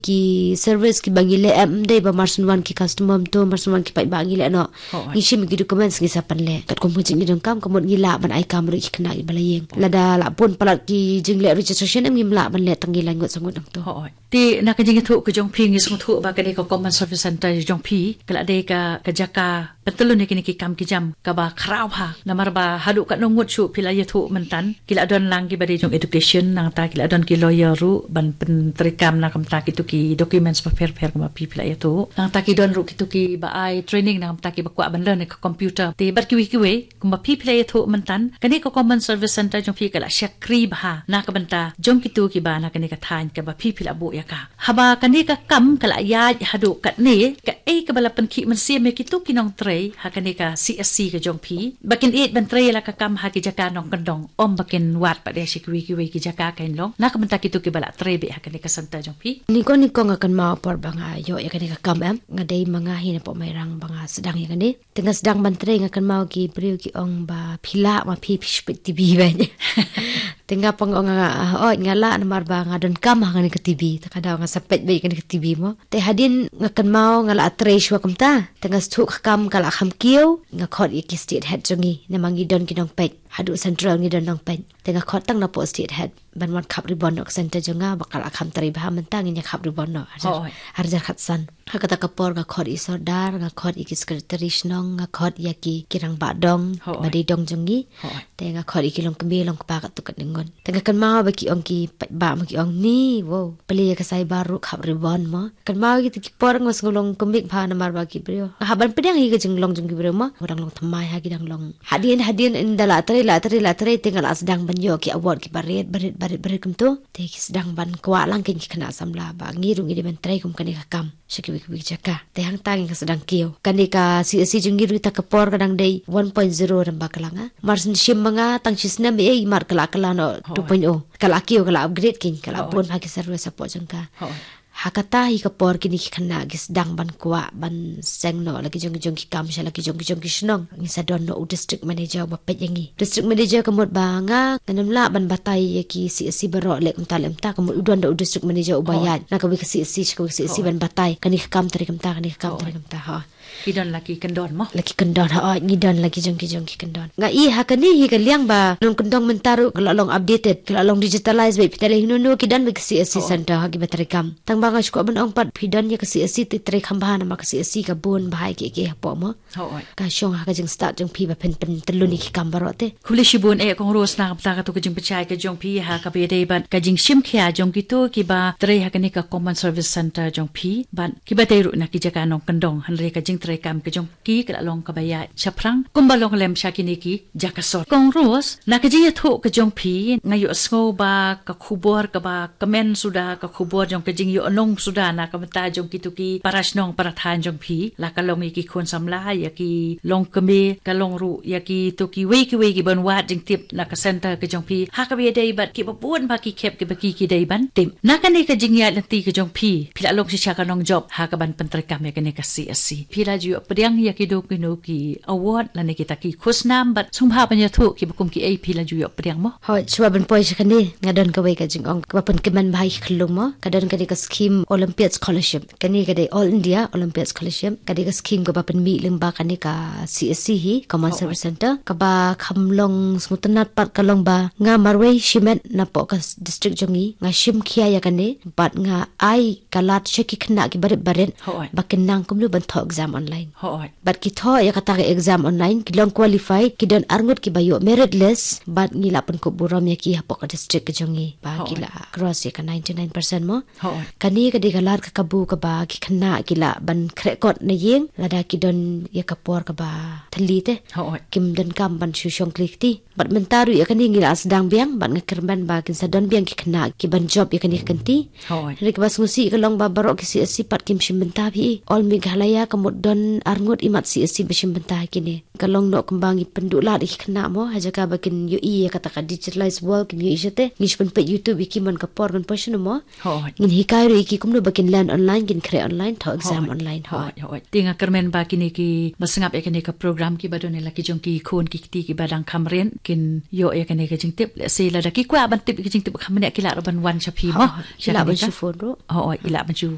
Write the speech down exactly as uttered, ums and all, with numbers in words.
ki service kiba ngi leh, em dei ba mar shu wan ki customer mynta, mar shu wan ki paidbah ngi leh noh. Hooid. Ngi shim ki documents ngi sa pynleh. Katkum ka jingïadonkam ka mut ngi lah ban ai kam ruh ki khynnah kiba la ïeng. Lada la bun palat ki jingleh registration em ngim lah ban leh tang ki laingut sangut nangta. Hooid. Te na ka jingïathuh ka jong phi ngi sngewthuh ba kane ka Common Service Center jong phi ka la dei ka, ka jaka pyntylun ïa kine ki kam ki jam kaba khraw bha. Namar ba haduh katno ngut shuh phi la ïathuh mynta ki la don lang kiba dei jong education, nangta ki la don ki lawyer ruh ban pyntreikam na ka bynta kito ki documents bapher bapher kumba phi phi la ïathuh. Nangta ki don ruh kito kiba ai training na ka bynta kiba kwah ban learn ïa ka computer. Te bad kiwei kiwei kumba phi phi la ïathuh mynta, kane ka Common Service Center jong phi ka la shakri bha na ka bynta jong kito kiba na kane ka thaiñ kaba phi phi la buh ïa ka. Haba kane ka kam ka la ïaid haduh katne, kaei kaba la pynkhih mynsiem ïa kito ki nongtrei ha kane ka C S C ka jong phi ba kin ïeit ban trei la ka kam ha ki jaka nongkyndong, ym ba kin wad pat ïa sha kiwei kiwei ki jaka kein long na ka bynta kito kiba la trei beit ha kane ka center jong phi? Nyngkong nyngkong nga kynmaw por ba nga ïoh ïa kane ka kam em, nga dei ma nga hi napoh Mairang ba nga sdang ïa kane. Te nga sdang ban trei nga kynmaw ki briew ki ong ba phi lah ma phi phi shu peit T V beit. Te nga pang ong nga, oh, nga lah namar ba nga donkam ha kane ka T V. Te ka daw nga sa peit beit kane ka T V mo. Te hadien nga kynmaw nga la trei shuwa kumta. Te nga shu ka kam ka la kham kiew, nga khot ïa ki state head jong ngi. Namar ngi don ki nongpeit. Haduh central ngi don nongpeit. Te nga khot tang napoh state head ban wan khap ribbon noh ka center jong nga ba ka la kham trei bha mynta ngin ïa khap ribbon noh. Hooid. Arjar khatsan. Ha kata ka por nga khot ïa i sordar, nga khot ïa ki secretary shnong, nga khot ïa ki, ki rangbah dong, hooid, ba dei dong jong ngi. Hooid. Te nga khot ïa ki longkmie longkpa katto katne ngut. Te nga kynmaw ba ki ong ki paidbah mo ki ong ni, wow, plie ïa ka cyber ruh khap ribbon mo. Kynmaw ïa kita ki por nga sngew long kumne bha namar ba ki briew. Nga hap ban pdiang ïa ka jinglong jong ki briew mo. Nga dang long thymmai ha ki dang long. Hadien hadien ynda la trei la trei la trei te nga la sdang ban ïoh ki award kiba rit ba rit ba rit ba rit kumto. Te ki sdang ban kwah lang kein ki khynnah samla ba ngi ruh ngi dei ban trei kum kane ka kam sha kiwei kiwei ki jaka. Te hangta ngi nga sdang kiew. Kane ka C S C jong ngi ruh ta ka por ka dang dei one point zero rem ba ka la nga. Mar shu shim ma nga tang shi snem ei mar ka la ka la noh, hooid, two point oh. Ka la kiew ka la upgrade kein ka la, hooid, bun ha ki service support jong ka. Hooid. Ha kata hi ka por kine ki khynnah ki sdang ban kwah ban seng noh la ki jong ki jong ki kam sha la ki jong ki jong ki shnong. Ngi sa don noh u district manager uba peit ïa ngi. District manager ka mut ba nga ngam lah ban batai ïa ki C S C baroh leh kumta leh kumta, ka mut u don da u district manager uba, hooid, ïaid na kawei ka C S C sha kawei ka C S C, hooid, ban batai kane ka kam trei kumta, kane ka kam, hooid, trei kumta, hooid. Ki don la ki kyndon mo? La ki kyndon, hooid, ngi don la ki jong ki jong ki kyndon. Nga i ha kane hi ka liang ba nongkyndong mynta ruh ka la long updated, ka la long digitalized beit, phi te leh hino hino ki don beit ka C S C, hooid, center ha kiba treikam. Tang ba nga shu kwah ban ong pat phi don ïa ka C S C te trei kham bha namar ka C S C ka bun bha ïa kiei kiei hapoh mo. Hooid. Ka shong ha ka jingstad jong phi ba phin pyntyllun ïa ki kam baroh te. Khublei shibun eh Kong Rose na ka bynta kato ka jingpynshai ka jong phi ha kaba ïadei bad ka jingshim khia jong kito kiba trei ha kane ka Common Service Center jong phi bad kiba dei ruh na ki jaka nongkyndong, hynrei ka jingtreikam ka jong ki ka la long kaba ïaid shaphrang kumba long lem sha kine ki jaka sor. Kong Rose, na ka jingïathuh ka jong phi nga ïohsngew ba ka khubor kaba kmen suda, ka khubor jong ka jingïohnong suda na ka bynta jong kito ki para shnong para thaiñ jong phi, la ka long ïa ki khun samla, ïa ki longkmie, ka long ruh ïa kito kiwei kiwei kiban wad jingtip na ka center ka jong phi ha kaba ïadei bad kiba bun bha ki khep kiba ki ki dei ban tip. Na kane ka jingïaid lynti ka jong phi, phi la long shisha ka nongjop ha kaban pyntreikam ïa kane ka C S C. Phi la ju ïoh pdiang ïa kino kino ki award lane kita ki khusnam bad sngewbha ban ïathuh kiba kum kiei phi la ju ïoh pdiang mo? Hooid, shuwa ban poi sha kane nga don kawei ka jingong kaba pynkmen bha ïa ki khyllung mo. Ka don kane ka scheme Olympiad Scholarship. Kane ka dei All India Olympiad Scholarship. Ka dei ka scheme kaba pynmih lyngba kane ka C S C hi, Common, hooid, Service Center. Kaba kham long sngewtynnat pat ka long ba nga marwei shimet napoh ka s-, district jong ngi nga shim khia ïa kane bad nga ai ka lad sha ki khynnah kiba rit ba rit, hooid, ba kin nang kumno ban thoh exam online. Hooid. Bad ki thoh ïa kata ka exam online, ki long qualified, ki don arngut kiba ïoh merit list, bad ngi la pynkup burom ïa ki hapoh ka district ka jong ngi ba ki, hooid, la cross ïa ka ninety-nine percent mo. Hooid. Kane ka dei ka lad ka kabu kaba ki khynnah ki lah ban khreh kot na ïing lada ki don ïa ka por kaba thylli te. Hooid. Kim donkam ban shu shong kli kti. Bad mynta ruh ïa kane ngi la sdang biang bad nga kyrmen ba kin sa don biang ki khynnah kiban jop ïa kane ka kynti. Hooid. Hynrei kaba sngewsih ka long ba baroh ki C S C pat kim shim bynta phi. All Meghalaya ka mut don arngut imat C S C ba shim bynta ha kine. Ka long noh kumba ngi pynduh lad ïa ki khynnah mo ha jaka ba kin ïohi ïa kata ka digitalized world, kim ïohi shate. Ngi shu pynpeit YouTube ïa ki man ka por kan poi shano mo. Hooid. Ngin hikai ruh Ki kumno ba kin learn online, kin khreh online, thaw exam Hooid. Online. Hooid. Hooid, hooid. Te nga kyrmen ba kine ki ba sngap ïa kane ka program, ki ba don ïa la ki jong ki khun ki kti ki ba dang kham rit, kin ïoh ïa kane ka jingtip. Lehse lada ki kwah ban tip ïa ka jingtip kham bniah, ki lah ruh ban wan sha phi mo. Hooid. Ki lah ban shu phone ruh. Hooid, ki lah ban shu